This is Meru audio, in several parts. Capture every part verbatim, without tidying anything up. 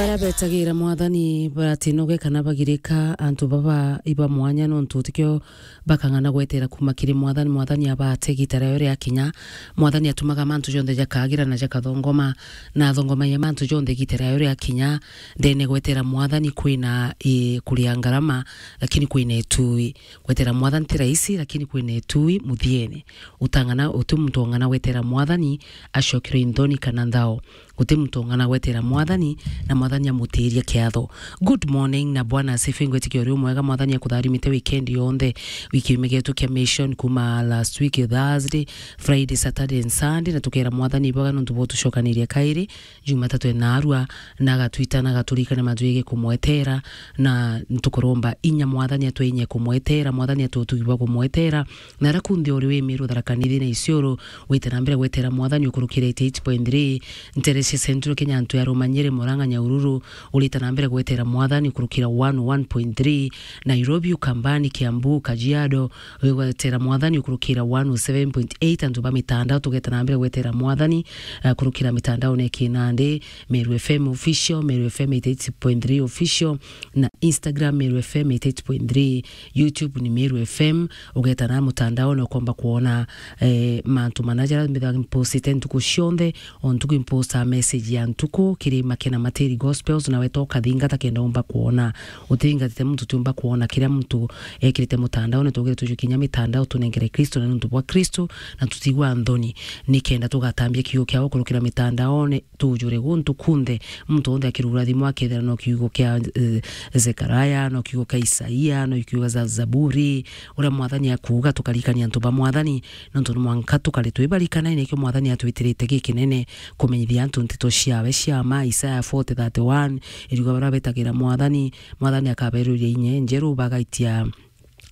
Baria betagira Mwathani batinoge kana bagirika, antu baba iba mwanya, nontu tikio bakang'ana gwetera kuuma kiri Mwathani. Mwathani abate igita riao riakinya, Mwathani atumaga mantu jonthe jakagira na jakathongoma, na athongomagia mantu jonthe igita riao riakinya. Ndene gwetera Mwathani kwina i kuria ngarama, lakini kwina itui. Gwetera Mwathani ti raisi, lakini kwina itui muthiene. Utang'ana, uti muntu ong'ana gwetera Mwathani acokirwe inthoni kana nthao. Guti muntu ong'ana gwetera Mwathani, na Mwathani amutiirie kiatho. Good morning, na Bwana asifiwe. Ngwitikia uri umwega, Mwathani akutharimite weekend yonthe. Wiki iume gietu kia mission kuma last week Thursday, Friday, Saturday and Sunday, na tukera Mwathani ibwega nontu bwa utucokaniria kairi Jumatatu enarua, na agatwita na agaturikania mantu jegii kumwetera, na ntukuromba inya Mwathani atwinye kumwetera, Mwathani atwe utugi bwa kumwetera, na aria kunthe uri wi Meru, Tharaka Nithi na Isiolo, wite na mbere gwetera Mwathani ukurukira eighty eight point three, ntere cia Central Kenya, antu ya Rumanyiri, Murang'a, Nyahururu, urite na mbere gwetera Mwathani ukurukira one oh one point three, Nairobi, Ukambani, Kiambu, Kajiado, wigwetera Mwathani ukurukira one oh seven point eight, antu ba mitandao tugeta na mbere gwetera Mwathani, eh, kurukira mitandaone kinandi, Meru F M Official, Meru F M eighty eight point three Official, na Instagram, Meru F M eighty eight point three, YouTube ni Meru F M, ugeta na mutandaone ukomba kuona, eh, mantu mana jaria mbithaga mpostite ntuku cionthe, o ntuku imposta message ya ntuku kiri Makena Matiri Gospels, na weta ukathingata kenda umba kuona. Utingatite muntu tiumba kuona kiria muntu ekirite mutandaone, tugire tujue kinya mitandao tunengere Kristo na nuntu bwa Kristo, na tutigwa nthoni, nikenda tugatambia kiugo kiao kurukira mitandaone, tujure guntu kunthe, muntu wonthe akirugura thimu akethira no kiugo kia, eh, Zekaraya, no kiugo kia Isaia, no kiugo kia Zaburi, uria Mwathani akuuga, tukarikania antu ba Mwathani, nontu ni mwanka tukari twibarikana, nikio Mwathani atwitirite gikinene kumenyithia antu nteto ciawe cia ma. Isaya forty thirty-one iriuga, baria betagira Mwathani, Mwathani akaberuria inya injeru, bagaitia,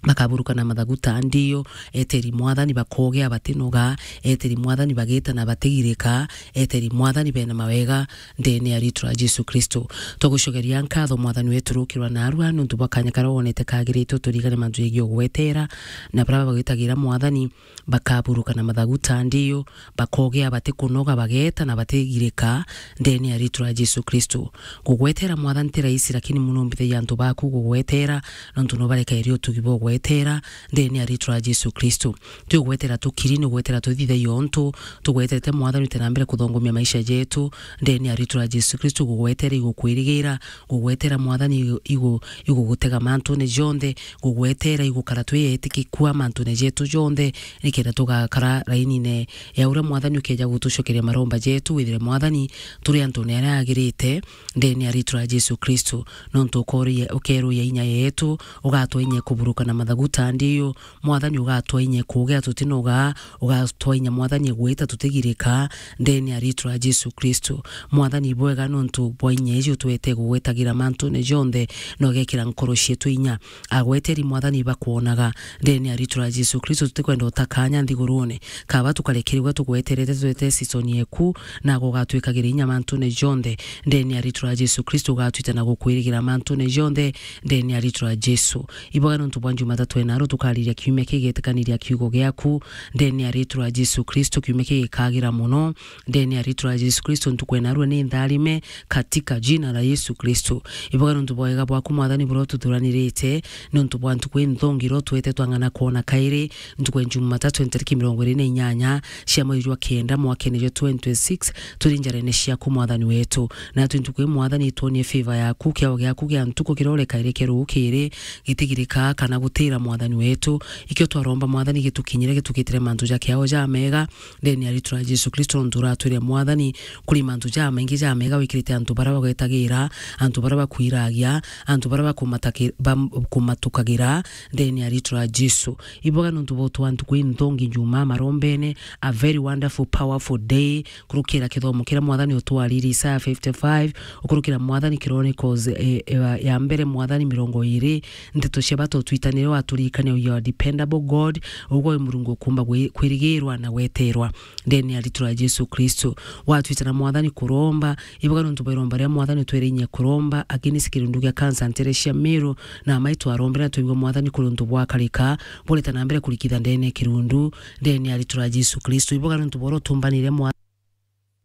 bakaburuka na mathagu ta ndiu, eteri Mwathani bakogea batinoga, eteri Mwathani bagita na batigirika, eteri Mwathani bena mawega ndene ya ritwa ria Jesu Kristo. Twagucokeria nkatho Mwathani wetu rukirwa narua nontu bwa kanya karia wonete kagirite uturigane mantu jegii ugwetera, na baria bagwetagira Mwathani bakaburuka na mathagu ta ndiu, bakogea batikunoga, bageta na batigirika ndene ya ritwa ria Jesu Kristo. Gugwetera Mwathani ti raisi, lakini muno mbithagia antu baku gugwetera, nontu nubarekairi utugi bwa ugwetera ndene ya ritwa ria Jesu Kristo. Ti ugwetera tukiri, ni ugwetera tuthithagia untu tugweterete Mwathani ute na mbere kuthongomia maisha jetu ndene ya ritwa ria Jesu Kristo. Gugwetera igukwirigira, gugwetera Mwathani igu-, igu-, igugutega mantune jonthe, gugwetera igukara twi etikikua mantune jetu jonthe, nikenda tugakara rainine ya uria Mwathani ukeja gutucokeria maromba jetu. Withire Mwathani turi antune aria agirite ndene ya ritwa ria Jesu Kristo, nontu ukoria-, ukeruria inya yetu, ugatwa inya kuburuka na mathagu ta ndiu. Mwathani ugatwa inya kugia tutinoga, ugatwa inya Mwathani gwita tutigirika ndene ya ritwa ria Jesu Kristo. Mwathani bwega nontu bwa inya iji utwete gugwetagira mantune jonthe, na ugekira nkoro cietu inya. Agweteri Mwathani bakwonaga ndene ya ritwa ria Jesu Kristo, tutikwenda utakanya nthigurune. Kaba tukarekerigwa tugweterete twete season yeku, na gugatwikagira inya mantune jonthe ndene ya ritwa ria Jesu Kristo, ugatwita na gukwirigira mantune jonthe ndene ya ritwa ria Jesu. Iboga nontu bwa Jumatatu enaro tukariria kiumia kigetikaniria kiugo giaku ndene ya ritwa ria Jesu Kristo, kiumia kigikagira muno ndene ya ritwa ria Jesu Kristo. Ntuku enarua ni ntharime katika jina la Yesu Kristo. Iboga nontu bwa wega bwaku Mwathani buria ututhuranirite, nontu bwa ntuku inthongi iria utwete twang'ana kwona kairi, ntuku ya Jumatatu ntariki mirongo iri na inyanya cia mweri jwa kenda mwakene jwa twenty twenty-six, turi njarene ciaku Mwathani wetu. Natwi ntuku ii Mwathani itwonie favor yaku, kiao giaku gia ntuku kiria urekaire kia rukiri gitigirika kana gutira Mwathani wetu. Ikio twaromba Mwathani gitukinyire, gitukitire mantu ja kiao ja mega ndene ya ritwa ria Jesu Kristo, nontu uratwire Mwathani kuri mantu ja maingi ja mega wikirite antu baria bagwetagira, antu baria bakwiragia, antu baria bakumataki-, bam-, kumatukagira ndene ya ritwa ria Jesu. Iboga nontu bwa utwa ntuku inthongi njuma marombene, a very wonderful, powerful day, kurukira kithomo kiria Mwathani utwariri Isaya fifty-five, ukurukira Mwathani Chronicles, eh, eh, ya mbere Mwathani mirongo iri, nteto cia bata utwitanire, waturirikania you are dependable God, ugwe wi Murungu ukumba gwi-, kwirigirwa na gweterwa ndene ya ritwa ria Jesu Kristo. Watwitana Mwathani kuromba, iboga nontu bwa iromba ria Mwathani utwire inya kuromba against kirundu gia kansa ntere cia Meru, na amai twarombere na twigua Mwathani kuri untu bwakarika, bureta na mbere kurikitha ndene kirundu, ndene ya ritwa ria Jesu Kristo. Iboga nontu bwa uria utumbanire Mwa-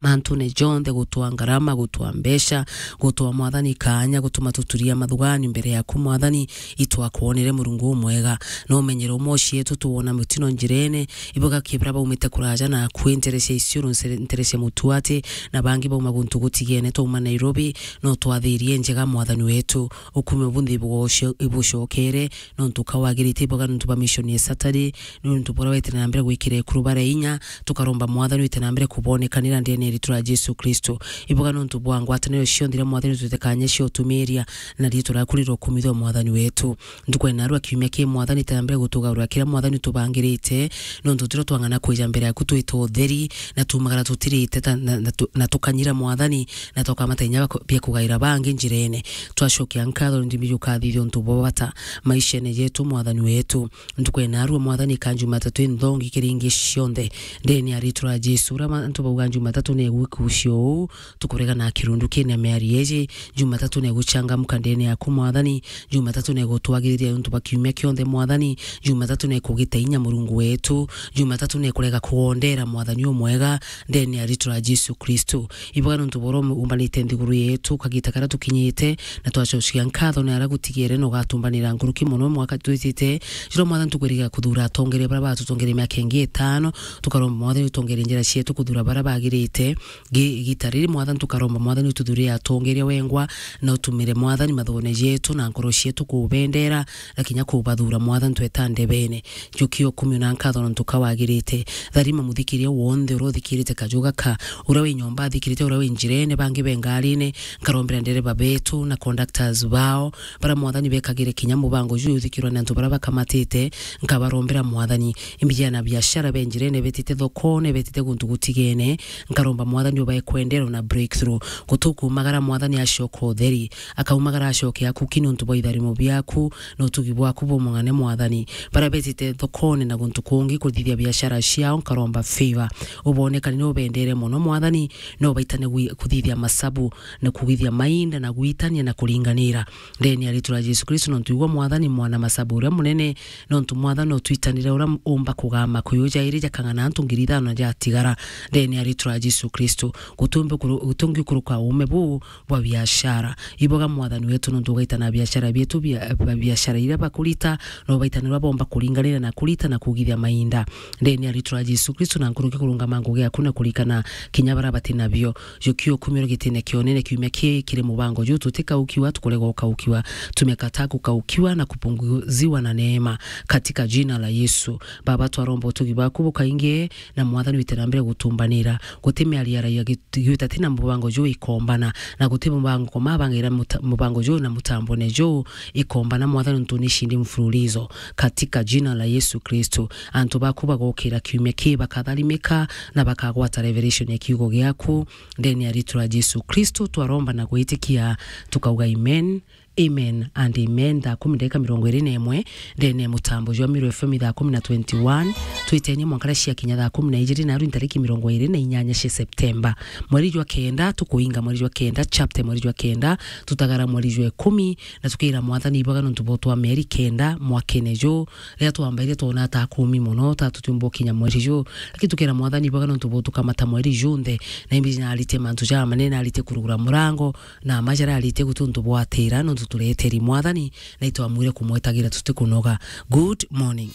mantune jonthe, gutwa ngarama, gutwa mbeca, gutwa Mwathani kaanya, gutuma tuturia mathugani mbere yaku Mwathani, itwakwonere Murungu umwega. No umenyere umwe ucietu tuwona mutino njirene, ibuga kibra baumite kuraja naku, ntere cia Isiolo, ntere cia Mutuati, na bangi bauma guntu gutigene, twauma Nairobi, no twathirie njega Mwathani wetu, ukume bunthi ibucokere, nontu ka wagirite iboga nontu bwa mission ya Saturday, nontu bora wete na mbere gwikira ekuru bara inya, tukaromba Mwathani wete na mbere kubonekanira ndene ya ritu ria Jesu Kristo. Iboga nontu bwa ngwataniro cionthe iria Mwathani tutekanye cio tumiria, na ritu riaku rirokumithwa Mwathani wetu. Ntuku ya narua kiumia ki Mwathani wete na mbere gutugarura kiria Mwathani tubangirite, nontu tiro twang'ana kwija mbere yaku twita utheri, na tumagara tutirite ta, na, na, tu- na tukanyira Mwathani, na tukamata inya bia kugaira bangi njirene. Twacokia nkatho nontu bijukathithia untu bwa bata maishene jetu, Mwathani wetu. Ntuku ya narua, Mwathani, ka Jumatatu inthongi kiri ingi cionthe. Ndene ya ritu ria Jesu, uria antu bauga Jumatatu ni igwikucia uu, tukurega na kirundu kina miari iji. Jumatatu ni iguchangamka ndene yaku, Mwathani. Jumatatu ni igutwagiriria untu bwa kiumia kionthe, Mwathani. Jumatatu ni ikugita inya, Murungu wetu. Jumatatu ni ikurega kugondera, Mwathani umwega, ndene ya ritu ria Jesu Kristo. Iboga nontu bwa uria umbanite nthiguru yetu, kagita karia tukinyite, na twacokia nkatho ni aria gutigere na ugatumbanira nkuruki mono mwaka twitite. Jiro Mwathani tukwiriga kuthura atongeria baria batutongeria miaka ingi itano, tukaromba Mwathani utongerie njira cietu kuthura baria bagirite. Gi- gita riri Mwathani tukaromba Mwathani ututhurie atongeria wengwa, na utumire Mwathani mathone jetu na nkoro cietu kubendera, na kinya kubathura Mwathani tweta ndebene. Njukia ukumio na nkatho nontu ka wagirite. Tharima muthikiria wonthe uria uthikirite kaju gaka, uria wi nyomba athikirite, uria wi njirene, bangi be ngarine, nkarombera ndereba betu na conductors bao, baria Mwathani bekagire kinya mubango juu uthikirwa ni antu baria bakamatite, nkabarombera Mwathani. Imbijana biashara be njirene, betite thokone, betite guntu gutigene, nkaromba Mwathani ubae kwendero na breakthrough. Gutukumagara Mwathani acoka utheri, akaumagara acoke akuki nontu bwa itharimo biaku, na utugi bwaku bumung'ane, Mwathani. Baria betite thokone na guntu kungi kuthithia biashara ciao, nkaromba favor. Ubonekane ni ubendere mono, Mwathani, na ubaitane gwi- kuthithia masabu, na kugithia mainda, na gwitania, na kuringanira. Ndene ya ritu ria Jesu Kristo, nontu igua, Mwathani, mwana masabu uria munene, nontu, Mwathani, utwitanire uria umba kugama kuyu jairi jakang'ana antu ngiri ithano jatigara. Ndene ya ritu ria Jesu Kristo, gutumbi kuru- gutungi kuruka uume buu, bwa biashara. Iboga Mwathani wetu, nontu ugaitana biashara bietu bia, bia biashara iria bakurita, na ubaitanirwa bomba kuringanira na kurita na kugithia mainda. Ndene ya ritu ria Jesu Kristo, na nkuruki kurungama ngugi yaku na kurikana kinya baria bati nabio. Jukia ukumio gitine kionene kiumia kii kiri mubango juu tutikaukiwa, tukurega ukaukiwa, tumekataa kukaukiwa na kupunguziwa na neema. Katika jina la Yesu, Baba, twaromba utugi bwaku bukaingie, na Mwathani wite na mbere gutumbanira. Guti miario aragia gi- Giuta tina mubango juu ikombana, na guti mubango koma bangira muta- mubango juu na mutambone juu ikombana, Mwathani, ntu ni cindi mfululizo. Katika jina la Yesu Kristo, antu baku bagokira kiumia kii bakatharimika na bakagwata revelation ya kiugo giaku. Ndene ya ritu ria Jesu Kristo twaromba na gwitikia, tukauga amen. Amen and amen. Thaa kumi ndagika mirongo iri na imwe, ndene ya mutambo jwa Miru F M thaa kumi na twenty-one. Twitenie mwanka ria ciakinya thaa kumi na ijiri, na aru ntariki mirongo iri na inyanya cia Septemba. Mweri jwa kenda, tukuinga mweri jwa kenda, chapter mweri jwa kenda, tutagara mweri jwa ikumi, na tukira Mwathani iboga nontu bwa twa mieri kenda mwakene juu, riria twambaire twona ta akumi mono, ta tutiumba ukinya mweri juu. Lakini tukira Mwathani iboga nontu bwa tukamata mweri junthe, na imbi narite mantu jamanene, narite kurugura murango, na majara arite gutuntu bwatira, nontu tureteri Mwathani, na itwamwire kumwetagira tutikunoga. Good morning.